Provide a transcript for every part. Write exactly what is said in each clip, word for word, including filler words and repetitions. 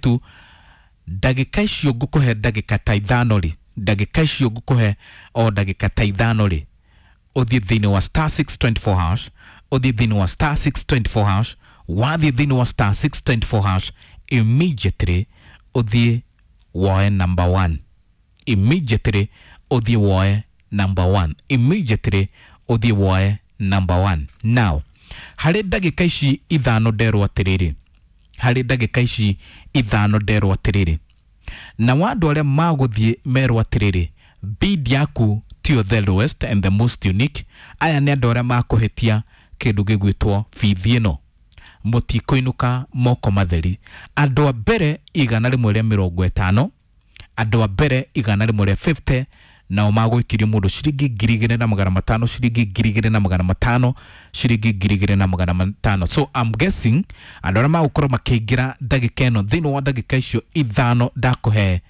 tu ndagĩka icio ngũkũhe ndagĩka ta ithano rĩ, ndagĩka icio ngũkũhe o ndagĩka ta ithano rĩ, ũthiĩ thĩinĩ wa star six twenty four hash, ũthiĩ thĩinĩ wa star six twenty four hash, wathiĩ thĩinĩ wa star six twenty four hash immediately ũthiĩ woe number one, immediately ũthiĩ woe number one, immediately ũthiĩ woe number one. Now harĩ ndagĩka ici ithano nderwo atĩrĩrĩ, harĩ ndagĩka ici ithano nderwo atĩrĩrĩ, na wa andũ arĩa magũthiĩ merwo atĩrĩrĩ, bid yaku tiyo the lowest and the most unique, aya nĩ andũ arĩa makũhĩtia kĩndũ gĩgwĩtwo bithi ĩno, mũtikũinũka moko matheri. Andũ a mbere igana rĩmwe rĩa mĩrongo ĩtano, andũ a mbere igana rĩmwe rĩa fifty, nao magũikirio mũndũ ciringi ngiri igĩrĩ na magana matano, ciringi ngiri igĩrĩ na magana matano, ciringi ngiri igĩrĩ na magana matano. So I'm guessing andũ arĩa magũkorwo makĩingĩra ndagĩka ĩno thĩinĩ wa ndagĩka icio ithano ndakũhe,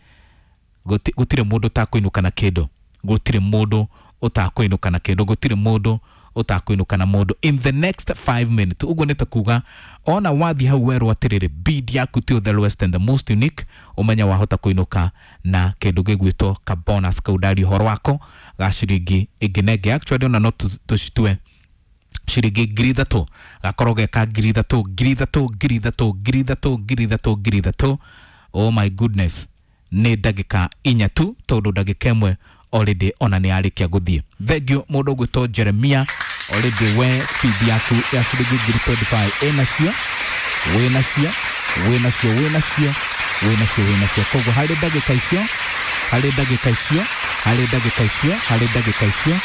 gũtirĩ mũndũ ũtakũinũka na kĩndũ, gũtirĩ mũndũ ũtakũinũka na kĩndũ, gũtirĩ mũndũ ũtakũinũka na mũndũ in the next five minutes. Ũguo nĩ ta kuga ona wathiĩ hau werwo atĩrĩrĩ, bid yaku tiyo the lowest and the most unique, ũmenya wahota kũinũka na kĩndũ gĩgwĩtwo ka bonus kau ndaria ũhoro wako ga ciringi ĩngĩ na ĩngĩ. Actually ona no tũcitue ciringi ngiri ithatũ, gakorwo geka ngiri ithatũ, ngiri ithatũ, ngiri ithatũ, ngiri ithatũ, ngiri ithatũ, ngiri ithatũ. Oh my goodness, nĩ ndagĩka inya tu, tondũ ndagĩka ĩmwe already ona nĩ yarĩkia gũthiĩ. Thank you mũndũ ũgwĩtwo Jeremia, already we feed yaku ya ciringi ngiri twenty five ĩnacio, wĩnacio, wĩnacio, wĩnacio, wĩnacio, wĩnacio. Koguo harĩ ndagĩka icio, harĩ ndagĩka icio, harĩ ndagĩka icio, harĩ ndagĩka icio,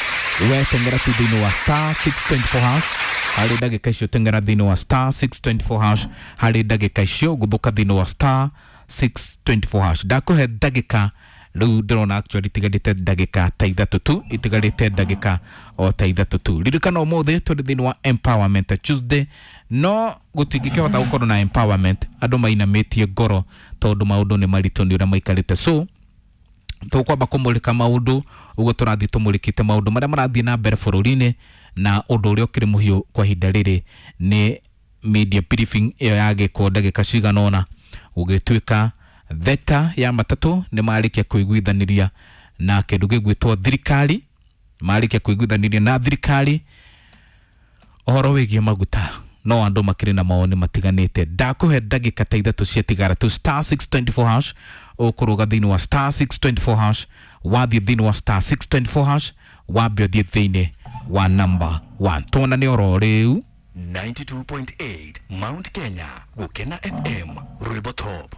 we teng'era tu thĩinĩ wa star six twenty four hash, harĩ ndagĩka icio teng'era thĩinĩ wa star six twenty four hash, harĩ ndagĩka icio gũthũka thĩinĩ wa star six twenty four hash. Ndakũhe ndagĩka rĩu ndĩrona actually itigarĩte ndagĩka ta ithatũ tu, itigarĩte ndagĩka o ta ithatũ tu. Ririkana ũmũthĩ tũrĩ thĩinĩ wa Empowerment Tuesday, no gũtingĩkĩhota gũkorwo na empowerment andũ mainamĩtie ngoro tondũ maũndũ nĩ maritũ nĩ ũrĩa maikarĩte. So tũkwamba kũmũrĩka maũndũ ũguo tũrathiĩ tũmũrĩkĩte maũndũ marĩa marathiĩ na mbere bũrũri-inĩ, na ũndũ ũrĩa ũkĩrĩ mũhiũ kwa ihinda rĩrĩ nĩ media briefing ĩyo yagĩkwo ndagĩka cigana ũna, gũgĩtuĩka thekta ya matatũ nĩ marĩkia kũiguithanĩria na kĩndũ gĩgwĩtwo thirikari, marĩkia kũiguithanĩria na thirikari ũhoro wĩgiĩ maguta, no andũ makĩrĩ na mawoni matiganĩte. Ndakũhe ndagĩka ta ithatũ ciatigara tu, star six twenty four hash, ũkũrũga thĩinĩ wa star six twenty four hash, wathiĩ thĩinĩ wa star six twenty four hash, wambe ũthiĩ thĩinĩ wa number one. Tuonane oro rĩu. ninety two point eight Mount Kenya, Gukena F M, Rwimbo Top.